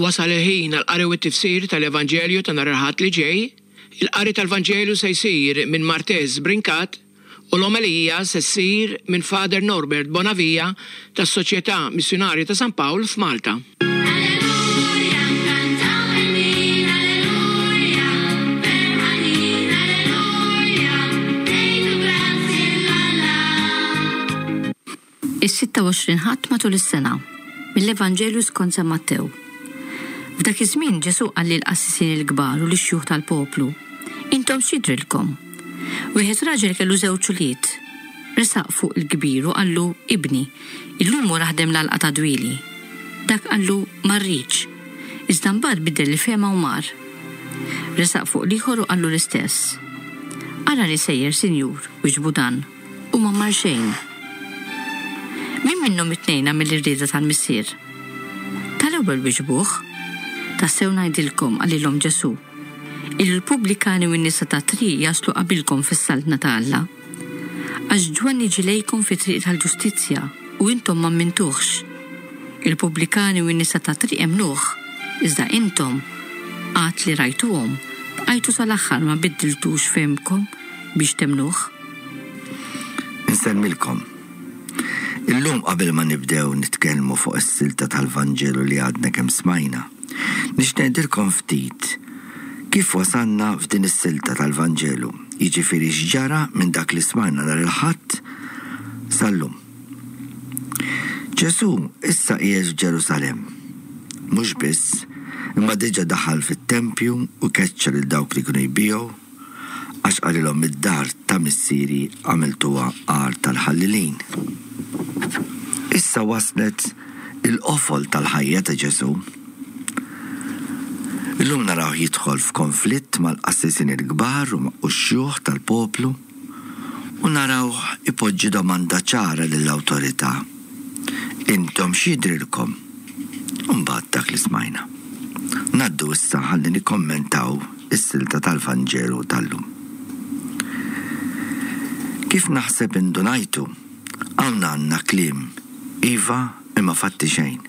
Wasal il-ħin għall-qari u t-tifsir tal-Evanġelju ta' nhar il-Ħadd li ġej. Il-qari tal-Vanġelu se jsir minn Martez Brincat u l-omelija se ssir minn Father Norbert Bonavia tas-Soċjetà Missjunarja ta' San Pawl f'Malta. Alleluja, nkantaw ħelwin, alleluja, ferħanin, alleluja, ngħidu grazzi 'l Alla. Is-26 Ħadd matul is-sena. Mill-Evanġelju skont San Mattew. F'dak iż-żmien Ġesù qal lill-qassisin il-kbar u lix-xjuħ tal-poplu, Intom x'jidhrilkom? Wieħed raġel kellu żewġ ulied. Resaq fuq il-kbir u qallu, 'Ibni, illum mur aħdem l-għalqa ta' dwieli. Dak qallu, 'Ma rridx. Iżda mbagħad biddel il-fehma u mar. Resaq fuq l-ieħor u qallu l-istess. Arani sejjer, Sinjur, wieġbu dan. U ma mar xejn. Min minnhom it-tnejn għamel ir-rieda tal-Missier? Tal-ewwel wieġbuh. Tassew ngħidilkom, qalilhom Ġesù, illi l-pubblikani u n-nisa tat-triq jaslu qabilkom fis-Saltna ta' Alla. Għax Ġwanni ġie lejkom fit-triq tal-ġustizzja u intom ma mmintuhx. Il-pubblikani u n-nisa tat-triq emmnuh, iżda intom, għad li rajtuhom, bqajtu sal-aħħar ma biddiltux fehmkom biex temmnuh. Insellmilkom. Illum qabel ma nibdew nitkellmu fuq is-silta tal-Vanġelu li għadna kemm smajna, nixtieq ngħidilkom ftit kif wasalna f'din is-silta tal-Vanġelu, jiġifieri x'ġara minn dak li smajna nhar il-Ħadd sal-lum. Ġesù issa qiegħed f'Ġerusalemm. Mhux biss, imma diġà daħal fit-tempju u keċċa lil dawk li kienu jbigħu, Għax qalilhom id-dar ta' missieri għamiltuha għar tal-ħallelin. Issa waslet il-qofol tal-ħajja ta' Ġesù. Illum narawh jidħol f'konflitt mal-qassisin il-kbar u x-xjuħ tal-poplu u narawh ipoġġi domanda ċara lill-awtorità, Intom x'jidhrilkom? U mbagħad dak li smajna. Ngħaddu issa ħalli nikkommentaw is-silta tal-Vanġelu tal-lum. Kif naħseb indunajtu, hawn għandna kliem iva imma fatti xejn.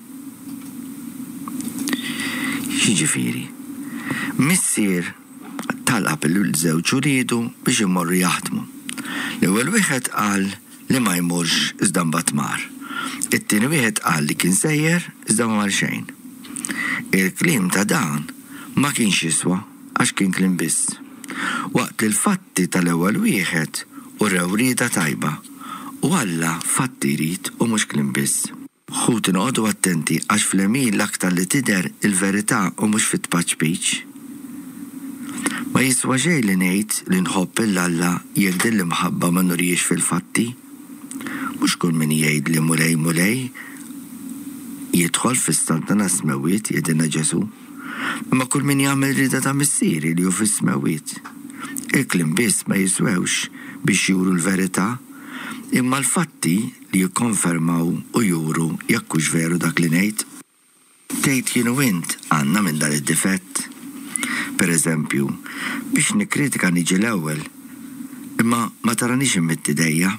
X'jiġifieri? Missier talab lil żewġ uliedu biex imorru jaħdmu. L-ewwel wieħed qal li ma jmurx iżda mbagħad mar. It-tieni wieħed qal li kien sejjer iżda ma mar xejn. Il-kliem ta' dan ma kienx jiswa għax kien kliem biss. Waqt li l-fatti tal-ewwel wieħed urew rieda tajba u Alla fatti jrid u mhux kliem biss. Ħuti noqogħdu attenti għax fl-għemil l-aktar li tidher il-verità u mhux fit-tpaċpiċ. Ma jiswa xejn li ngħid li nħobb 'il Alla jekk din l-imħabba ma nurihiex fil-fatti. Mhux kull min jgħidli Mulej, Mulej jidħol fis-Saltna tas-Smewwiet, jgħidilna Ġesù, imma kull min jagħmel rieda ta' Missieri li hu fis-smewwiet. Il-kliem biss ma jiswewx biex juru l-verità, imma l-fatti li jikkonfermaw u juru jekk hux veru dak li ngħid. Tgħid jien u int għandna minn dan id-difett? Per eżempju, biex nikkritika niġi l-ewwel, imma ma taranix immidd idejja.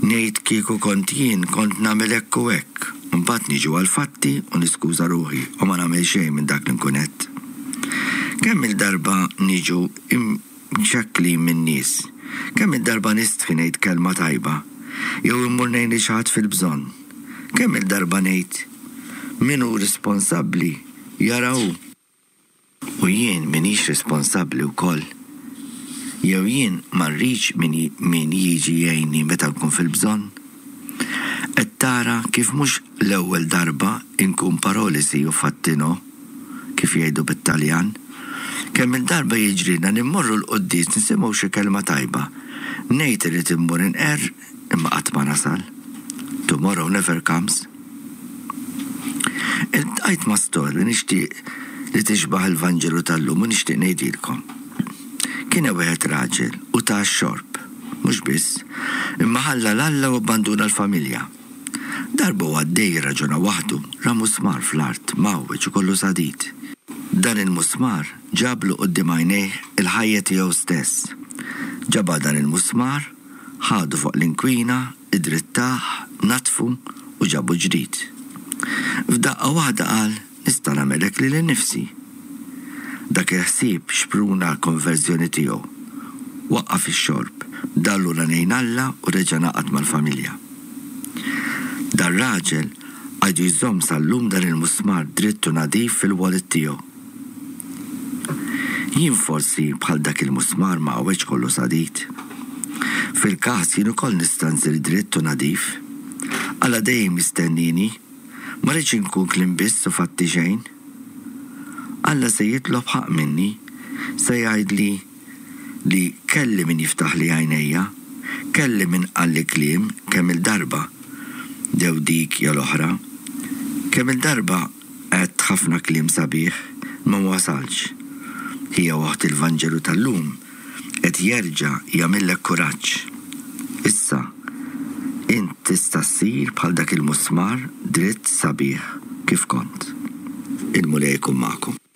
Ngħid kieku kont jien kont nagħmel hekk u hekk, u mbagħad niġu għall-fatti u niskuża ruħi u ma nagħmel xejn minn dak li nkun għedt. Kemm-il darba niġu mxekklin min-nies. Kemm-il darba nistħi ngħid kelma tajba, jew immur ngħin lil xi ħadd fil-bżonn. Kemm-il darba ngħid, Min hu risponsabbli jara hu. U jien m'iniex risponsabbli wkoll? Jew jien ma rridx min min jiġi jgħinni meta nkun fil-bżonn? Qed tara kif mhux l-ewwel darba nkun paroli sì u fatti no, kif jgħidu bit-Taljan? Kemm-il darba jiġrilna li mmorru l-quddies nisimgħu xi kelma tajba, ngħid irrid immur inqerr imma qatt ma nasal. Tomorrow never comes. Iltqajt ma' storja nixtieq li tixbah il-Vanġelu tal-lum u nixtieq ngħidilkom. Kien hemm wieħed raġel u ta x-xorb. Mhux biss, imma ħalla 'l Alla u abbanduna l-familja. Darba hu għaddej jirraġuna waħdu, ra musmar fl-art, mgħawweġ u kollu sadid. Dan il-musmar ġablu quddiem għajnejh il-ħajja tiegħu stess. Ġabha dan il-musmar, ħadu fuq l-inkwina, iddrittah, naddfu u ġabu ġdid. F'daqqa waħda qal. nista' nagħmel hekk lili nnifsi. Dak il-ħsieb xpruna l-konverżjoni tiegħu. Waqqaf ix-xorb, dar lura lejn Alla u reġa' ngħaqad mal-familja. Dar-raġel għadu jżomm sal-lum dan il-musmar dritt u nadif fil-wallet tiegħu. Jien forsi bħal dak il-musmar mgħawweġ kollu sadid. Fil-każ jien ukoll nista' nsir dritt u nadif. Alla dejjem jistennieni. Ma rridx inkun kliem biss u fatti xejn. Alla se jitlob ħaqq minni, se jgħidli li kelli min jiftaħli għajnejja, kelli min qalli kliem kemm-il darba, jew dik jew l-oħra. Kemm-il darba Għedt ħafna kliem sabiħ, imma ma wasaltx. Ħija u oħti l-Vanġelu tal-lum qed jerġa' jagħmillek kuraġġ. Issa, int tista' ssir bħal dak il-musmar dritt sabiħ kif kont. Il-Mulej ikun magħkom.